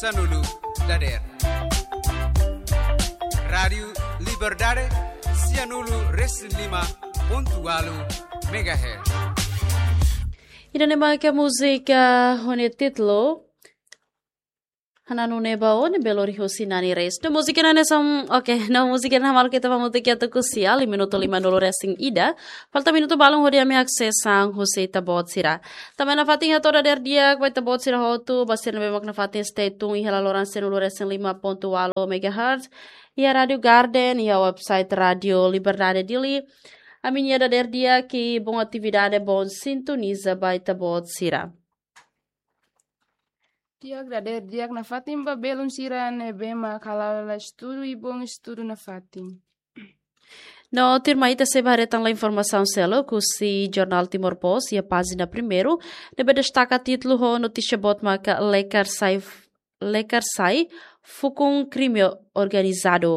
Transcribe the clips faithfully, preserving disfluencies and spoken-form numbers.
sanulu dadeer. Rádiu Liberdade, sianulu resin lima pontu walu megahertz. Ida-ne'e mak múzika ho nia títulu Hananu Ne'e Ba Ó ne'ebé lori husi Nani Reis. No múzika ne'e hanesan, oke, no múzika ne'e hamutuk ita hamutuk iha tuku sia, liu minutu limanulu resin ida. Falta minutu balun hodi ami haksesan husi ita-boot sira. Tanba ne'e nafatin hato'o dadeer di'ak ba ita-boot sira hotu, ba sira ne'ebé mak nafatin stay tune iha laloran sianulu resin lima pontu walu megahertz. Iha Rádiu Garden, iha website Rádiu Liberdade Dili. Ami-nia dadeer di'ak i bom atividade, bom sintoniza ba ita-boot sira. Di'ak, dadeer di'ak nafatin ba belun sira ne'ebé mak hala'o estudu i bom estudu nafatin. No tuirmai ita sei ba haree tan informasaun seluk husi jornál Timor Post iha pájina primeiru, ne'ebé destaka títulu ho notísia boot maka Lekar Sai, Lekar Sai fukun krime organizadu.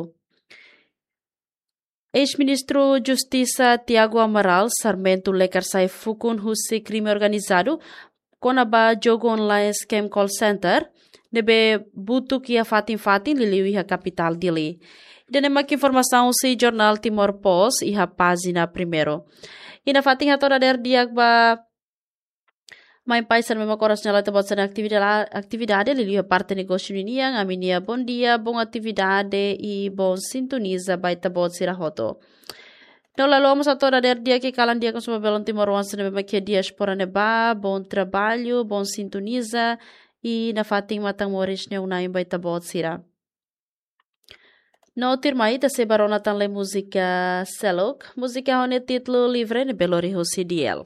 Eis-Ministru Justisa Tiago Amaral Sarmento Lekar Sai fukun husi krime organizadu kona-ba jogu online scam call center ne'ebé butuk iha fatin-fatin liuliu iha kapitál Dili. Ida-ne'e mak informasaun husi jornál Timor Post iha pájina primeiru. I nafatin hato'o dadeer di'ak ba mãe pai sira ne'ebé mak oras ne'e la'o ita-boot sira-nia atividade, atividade liuliu iha parte negósiu ninian, ami-nia bom dia, bom atividade i bom sintoniza ba ita-boot sira hotu. No la haluha mós hato'o dadeer di'ak i kalan di'ak mós ba belun timoroan sira ne'ebé mak iha diáspora ne'ebá, bom trabalho, bom sintoniza i nafatin matan moris ne'e oin-ain ba ita-boot sira. No tuirmai ita sei ba rona tan lai múzika seluk, múzika ho nia títulu Livre ne'ebé lori husi Diel.